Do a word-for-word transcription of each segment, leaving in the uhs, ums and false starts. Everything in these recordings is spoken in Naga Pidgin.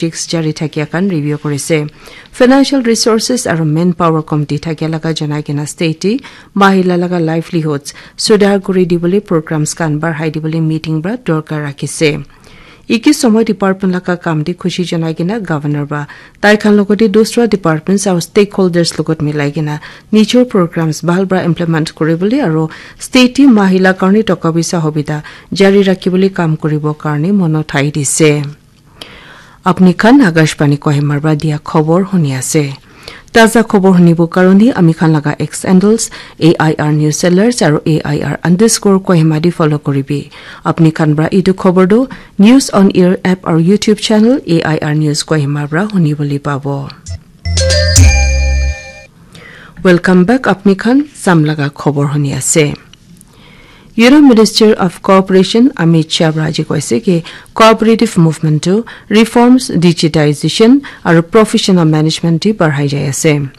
projects jari thakia khan review kurise. Financial Resources aru Manpower Committee thakia laga janai kena state te mahila laga livelihoods sudhar kuri dibole programs khan barhai dibole meeting pra dorkar rakhise. Iki somoy department laga kam te khushi janai kena governor pra tai khan logote dusra departments aru stakeholders logot milai kena nijor programs bhal pra implement kuribole aru state te mahila karne toka poisa hobita jari rakhibole kam kuribo karne mono thai dise. Apni khan Akashvani Kohima pra dia khobor huni ase. Taza khobor hunibo karone ami khan laga X handles, A I R News Sellers aru A I R underscore Kohima di follow kuribi. Apni khan pra itu khobor tu News on Air app aru YouTube channel A I R News Kohima pra hunibole pabo. Welcome back, apni khan sam laga khobor huni ase. Union Minister of Cooperation Amit Shah pra aji koise ki cooperative movement to reforms, digitization aru professional management di barhai jai ase.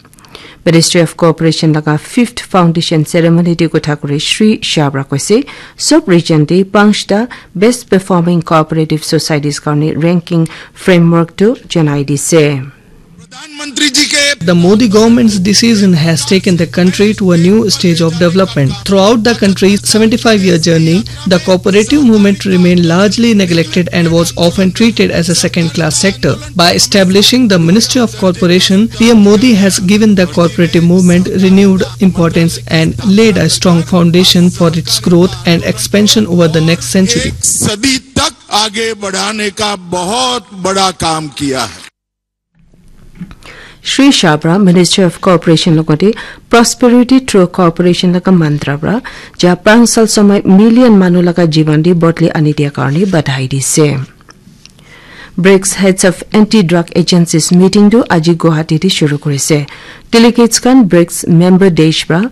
Ministry of Cooperation laga fifth foundation ceremony di kotha kuri Shri Shah pra koise, sub region di panchta best performing cooperative societies karne ranking framework tu janai dise. प्रधानमंत्री जी के The Modi government's decision has taken the country to a new stage of development. Throughout the country's seventy-five-year journey, the cooperative movement remained largely neglected and was often treated as a second-class sector. By establishing the Ministry of Cooperation, P M Modi has given the cooperative movement renewed importance and laid a strong foundation for its growth and expansion over the next century. एक सदी तक आगे बढ़ाने का बहुत बड़ा काम किया है। Shri Shah pra Ministry of Cooperation logote Prosperity through Cooperation laga mantra pra ja panch sal somoy million manu laga jiban di bodli ani dia karne badhai dise. BRICS Heads of Anti-Drug Agencies meeting tu aji Guwahati di shuru kurise. Delegates khan BRICS member desh pra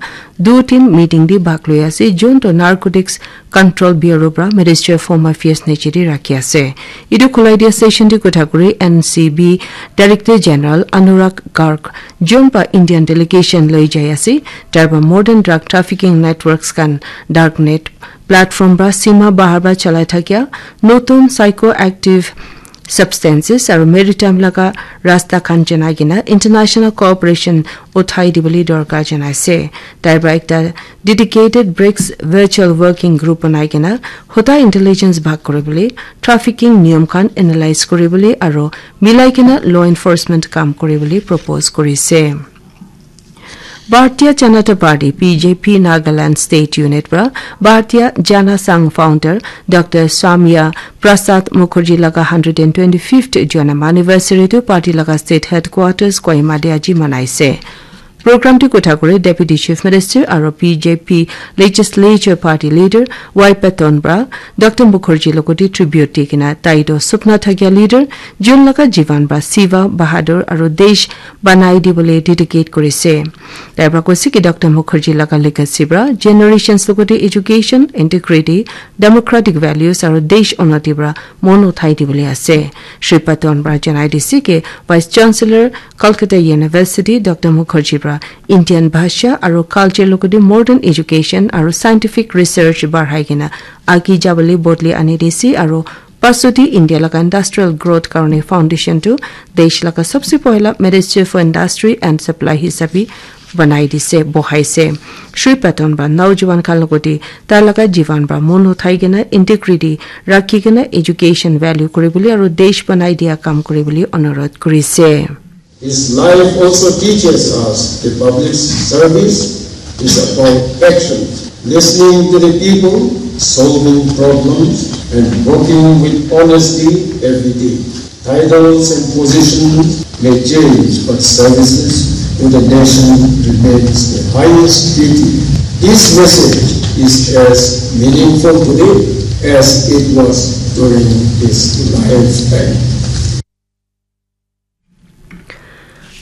du tin meeting di bhag loi ase, jun to Narcotics Control Bureau pra Ministry of Home Affairs niche di rakhi ase. Itu khulai dia session di kotha kuri N C B Director General Anurag Garg, jun pa Indian delegation loi jai ase, tai pra modern drug trafficking networks khan darknet platform pra sima bahar pra chalai thakia notun psychoactive substances aru maritime laga rasta khan janai kena international cooperation uthai dibole dorkar janai ase. Tai pra ekta dedicated BRICS virtual working group banai kena hota intelligence bhag kuribole, trafficking niyam khan analyze kuribole aru milai kena law enforcement kam kuribole propose kurise. Bharatiya Janata Party, B J P, Nagaland State Unit pra Bharatiya Jana Sangh founder Doctor Samya Prasad Mukherjee laga hundred and twenty-fifth janam anniversary tu party laga state headquarters Kohima te aji manaise. Program tu kotha kuri Deputy Chief Minister aru B J P Legislature Party Leader Y Patton pra Doctor Mukherjee logote tribute di kena tai toh supna thakia leader, jun laga jiban pra seva, bahadur aru desh banai dibole dedicate kurise. Tai pra koise ki Doctor Mukherjee laga legacy pra generations logote education, integrity, democratic values aru desh unnati pra mon uthai dibole ase. Shri Patton pra janai dise ki Vice Chancellor Calcutta University Doctor Mukherjee pra Indian bhasha aru culture logote modern education aru scientific research barhai kena agi jabole bodli ani dise aru pasudi India laga industrial growth karone foundation tu desh laga sabse pohila Ministry for Industry and Supply hisabe banai dise, bohaise. Shri Patton pra naujuwan khan logote tai laga jiban pra mon uthai kena integrity rakhi kena education value kuribole aru desh banai dia kam kuribole onurodh kurise. His life also teaches us the public service is about action, listening to the people, solving problems, and working with honesty every day. Titles and positions may change, but services to the nation remains the highest duty. This message is as meaningful today as it was during his lifetime.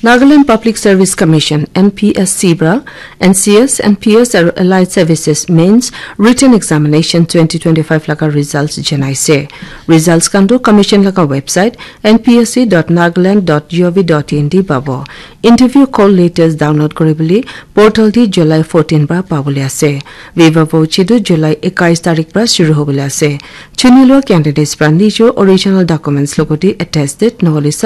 Nagaland Public Service Commission, N P S C, pra N C S, N P S aru Allied Services Mains Written Examination twenty twenty-five laga results janaise. Results khan tu commission laga website N P S C dot nagaland dot gov dot in te pabo. Interview call letters download koribole portal te July fourteen pra pabole ase. Viva voce tu July ekais tarik pra shuru hobole ase. Chuni lua candidates pra nijo original documents logoti attested nohole